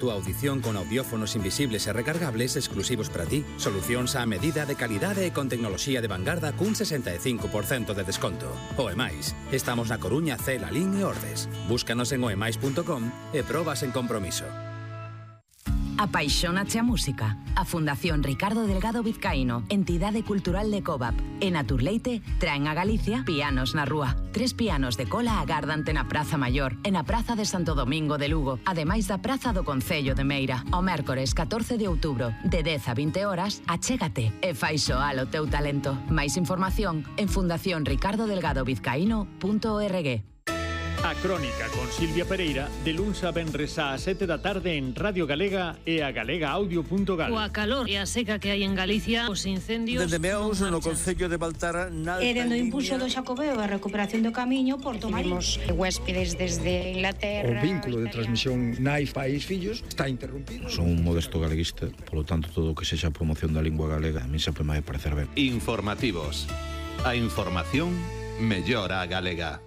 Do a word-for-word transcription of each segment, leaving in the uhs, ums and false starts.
Tu audición con audiófonos invisibles e recargables exclusivos para ti. Solucións á medida de calidade e con tecnoloxía de vanguarda cun sesenta e cinco por cento de desconto. O E máis. Estamos na Coruña, Cela, Lín e Ordes. Búscanos en oemais punto com e probas en compromiso. Apaixónache a música. A Fundación Ricardo Delgado Vizcaíno, entidade cultural de Covap, e Naturleite traen a Galicia Pianos na Rúa. Tres pianos de cola agardante na Praza Maior e na Praza de Santo Domingo de Lugo, ademais da Praza do Concello de Meira. O mércores catorce de outubro, de dez a vinte horas, achégate e fai soar o teu talento. Máis información en fundación ricardo delgado vizcaíno punto org. A Crónica con Silvia Pereira, de luns a venres ás sete da tarde en Radio Galega e a galega audio punto gal. Coa calor e a seca que hai en Galicia, os incendios... Dende Meaus, no Concello de Baltar, na E dende o impulso do Xacobeo e a recuperación do camiño, Porto Marín. Huéspedes desde Inglaterra... O vínculo de transmisión nais país fillos está interrompido. Son un modesto galeguista, polo tanto, todo o que sexa a promoción da lingua galega a mí sempre me vai parecer ben. Informativos. A información mellora a galega.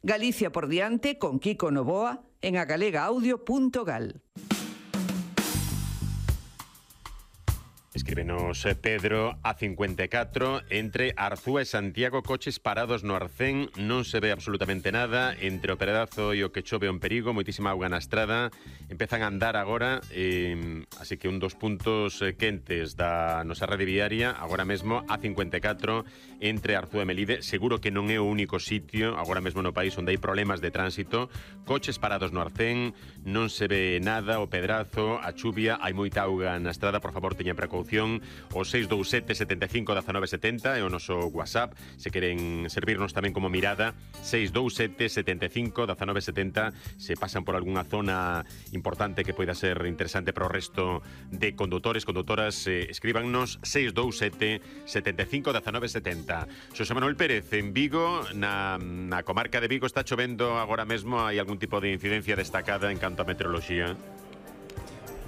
Galicia por diante con Kiko Novoa en a galega audio punto gal. Escríbenos Pedro a cincuenta e catro. Entre Arzúa e Santiago, coches parados no Arcén, non se ve absolutamente nada. Entre o Pedazo e o que chove un perigo, moitísima auga na estrada. Empezan a andar agora, eh, así que un dos puntos quentes da nosa rede viaria agora mesmo a cincuenta e catro entre Arzúa e Melide. Seguro que non é o único sitio agora mesmo no país onde hai problemas de tránsito. Coches parados no Arcén, non se ve nada. O Pedrazo, a chuvia, hai moita auga na estrada. Por favor, teñan precaución. O seis dous sete, sete cinco, uno nove sete zero é o noso WhatsApp. Se queren servirnos tamén como mirada, seis dous sete, sete cinco, uno nove sete zero. Se pasan por algunha zona importante que poida ser interesante para o resto de condutores, condutoras, eh, escríbannos seis dous sete, sete cinco, uno nove sete zero. Xosé Manuel Pérez, en Vigo, na, na comarca de Vigo, está chovendo agora mesmo. Hai algún tipo de incidencia destacada en canto a meteoroloxía?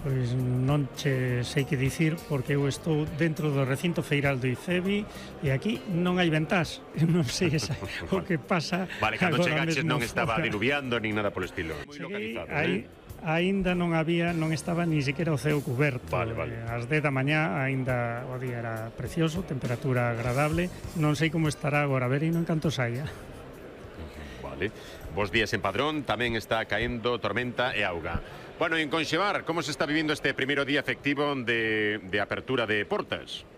Pois non che sei que dicir, porque eu estou dentro do recinto feiral do IFEBI e aquí non hai ventás. Eu non sei esa, o que pasa. Vale, cando chegaches non fora. Estaba diluviando nin nada polo estilo. Moi localizado, aí, eh? Aínda non había, non estaba ni siquiera o ceo cuberto. Vale, vale. Ás dez da mañá aínda o día era precioso, temperatura agradable. Non sei como estará agora, a ver e non canto saia. Vale. Bos días en Padrón, tamén está caendo tormenta e auga. Bueno, en Conxebar, como se está vivindo este primeiro día efectivo de, de apertura de portas?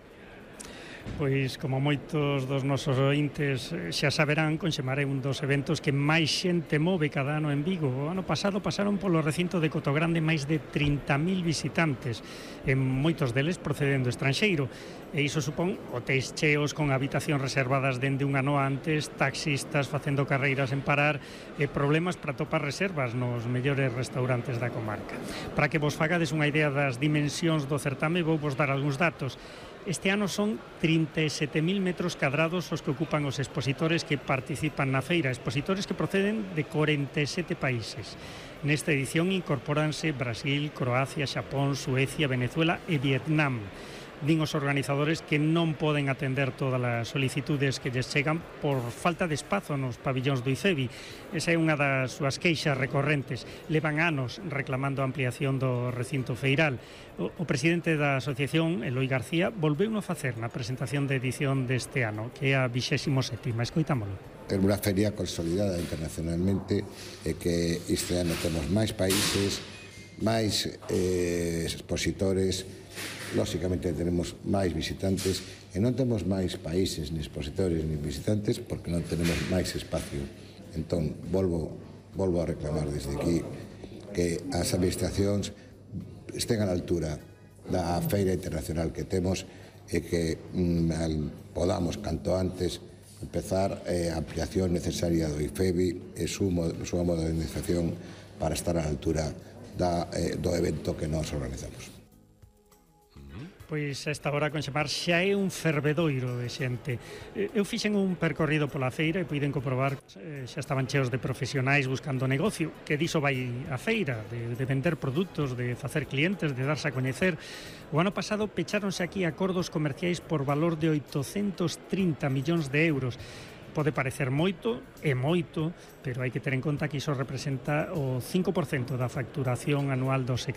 Pois, como moitos dos nosos ointes xa saberán, Conxemar é un dos eventos que máis xente move cada ano en Vigo. O ano pasado pasaron polo recinto de Cotogrande máis de trinta mil visitantes, e moitos deles procedendo estranxeiro. E iso supón hotéis cheos con habitacións reservadas dende un ano antes, taxistas facendo carreiras en parar e problemas para topar reservas nos mellores restaurantes da comarca. Para que vos fagades unha idea das dimensións do certame, vou vos dar algúns datos. Este ano son trinta e sete mil metros cadrados os que ocupan os expositores que participan na feira, expositores que proceden de corenta e sete países. Nesta edición incorporanse Brasil, Croacia, Xapón, Suecia, Venezuela e Vietnam. Din os organizadores que non poden atender todas as solicitudes que lles chegan por falta de espazo nos pabillóns do IFEBI. Esa é unha das súas queixas recorrentes. Levan anos reclamando a ampliación do recinto feiral. O, o presidente da asociación, Eloi García, volveu a facer na presentación de edición deste ano, que é a vixésimo sétima. Escoitámolo. É unha feria consolidada internacionalmente e que este ano temos máis países, máis eh, expositores. Lóxicamente tenemos máis visitantes e non temos máis países, ni expositores, ni visitantes porque non tenemos máis espacio. Entón, volvo, volvo a reclamar desde aquí que as administracións estén a la altura da feira internacional que temos e que mm, podamos, canto antes, empezar eh, a ampliación necesaria do IFEBI e súa modernización para estar a la altura da, eh, do evento que nós organizamos. Pois a esta hora Conxemar xa é un fervedoiro de xente. Eu fixen un percorrido pola feira e puiden comprobar xa estaban cheos de profesionais buscando negocio, que diso vai a feira, de, de vender produtos, de facer clientes, de darse a coñecer. O ano pasado pecháronse aquí acordos comerciais por valor de oitocentos trinta millóns de euros. Pode parecer moito, é moito, pero hai que ter en conta que iso representa o cinco por cento da facturación anual do sector.